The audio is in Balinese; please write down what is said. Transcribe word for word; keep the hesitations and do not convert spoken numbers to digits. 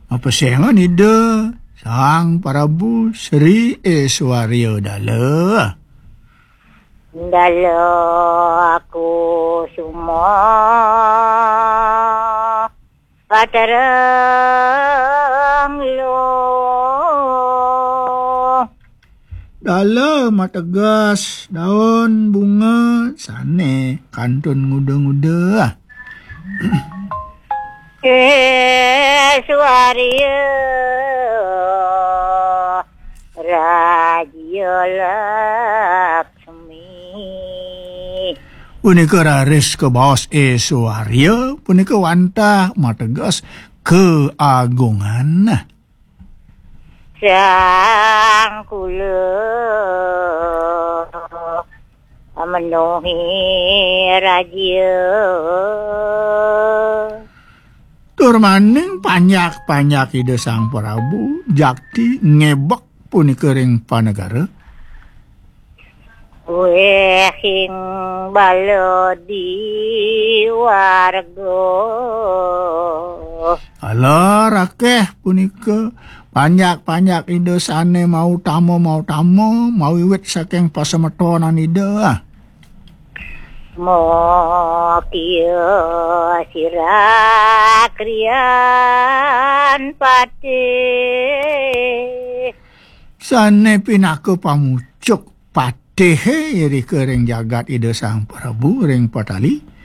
Mapesengan Ida Sang Prabu Sri Eswarya Dala. Dala aku suma patereng lo. Dala mateges daun bunga sane kantun nguda-nguda. Eswarya Raja Laksmi. Punika raris kabaos Eswarya, punika wantah mateges keagungan. Sang kula menuhi raja. Tur maning panjak-panjak Ida Sang Prabu Jakti ngebek punika ring panegara. Wehing bala di warga. Ala rakeh punika panjak-panjak Ida sane mautama, mautama, mawiwit saking pasemetonan Ida. Mokia sira krian patih. Sane pinaka pamucuk patihe irika ring jagat Ida Sang Prabu ring Patali.